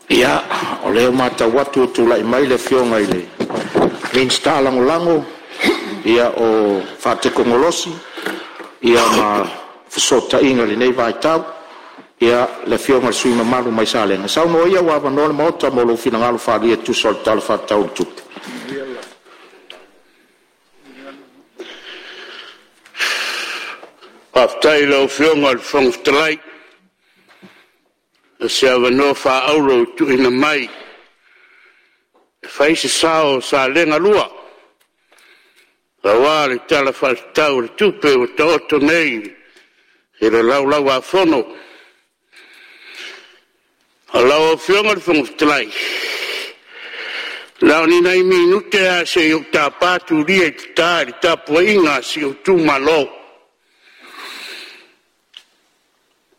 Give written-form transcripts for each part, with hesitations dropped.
Ia, o lea ua matau atu ua tulai mai le Afioga i le Minisita Lagolago o Fesootaiga ma Fesootaiga i lenei vaitau, le Afioga i le sui usufono mamalu mai Salega. Saunoa ia ua avanoa le Maota mo lou finagalo faaalia e tusa o le Tala Faatatau o le Tupe. Faafetai i lau Afioga i le Fofoga Fetalai mo se avanoa faaauro ua tuuina mai e fai se sao o Salega 2 aua le Tala Faatatau o le Tupe ua taoto nei i le Laulau-a-Fono. Lau Afioga i le Fofoga Fetalai, na o ni nai minute lava se i ou tapa tulia i tata i le tapuaiga a si ou itumalo.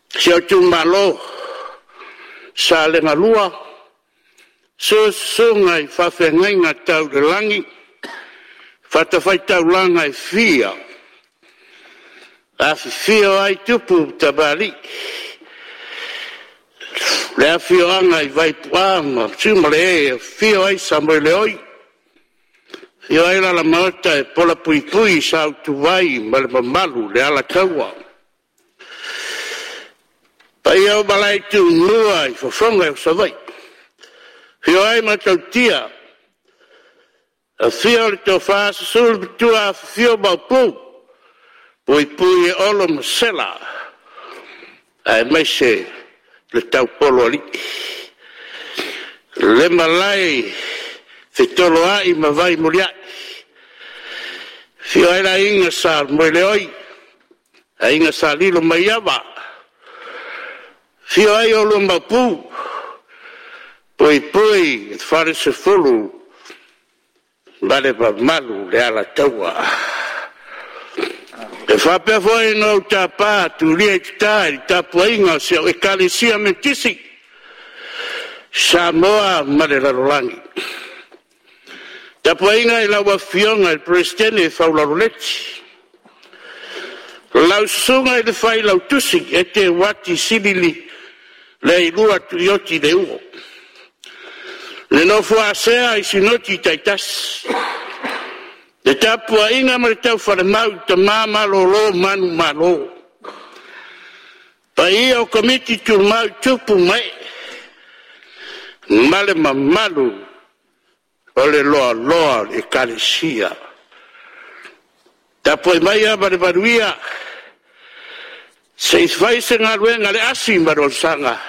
Si ou itumalo Salega 2, susu susuga i faafeagaiga tau i le lagi, fatafaitaulaga e fia, afifio ai tupu ma tamalii, le afioaga i Vaituua'a ma Siomalee, afio ai Samoeleoi, afio ai Alamaota e polapuipui sa Utuvai ma le mamalu i le Alataua. Paia o malae i Tumua i fofoga o Savaii, afio ai Matautia, afio le Tofa Susu le Matua, afifio Maopu, Puipui e Olo ma Sela, aemaise le Taupoloalii. Le malae i Fetoloai ma Vaimuliai, afio ai le Aiga Sa Moeleoi, Aiga Sa Lilomaiava, afio ai oulua Maopu, Puipui le Falesefulu ma le mamalu i le Alataua. E faapea foi ona ou tapa tulia i tata i le tapuaiga a si au Ekalesia Metotisi i Samoa ma le lalolagi. Tapuaiga i lau Afioga i le Peresetene Faulalo Leti, lau Susuga i le Failautusi Eteuati Selili Leilua Tuioti Leuo. Le nofo a sea i Sinoti taitasi, le tapuaiga ma le taufalemau i tama malolo manumalo, paia o Komiti Tumau tupu ma ee, ma le mamalu o le loaloa o le Ekalesia. Tapuai maia ma le manuia se i fai se galuega a le asi ma le osaga,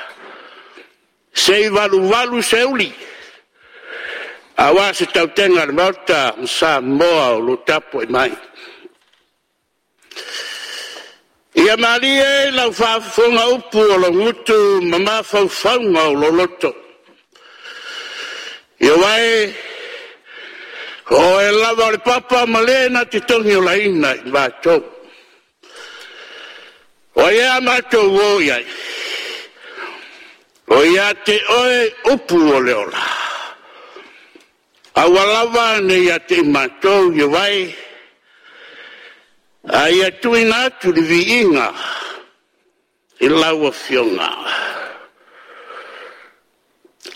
se i valuvalu seuli aua se tautega a le Maota ma Samoa o lo o tapuai mai. Ia malie lau faafofoga upu o lou gutu ma mafaufauga o lou loto, aua o oe lava o le papa ma le na te togiolaina i matou. O ai ea a matou o i ai? O ia te oe upu o le ola. Aua lava ne i ia te i matou Ievae, a ia tuuina atu le viiga i lau Afioga.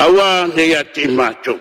Aua ne i ia te i matou.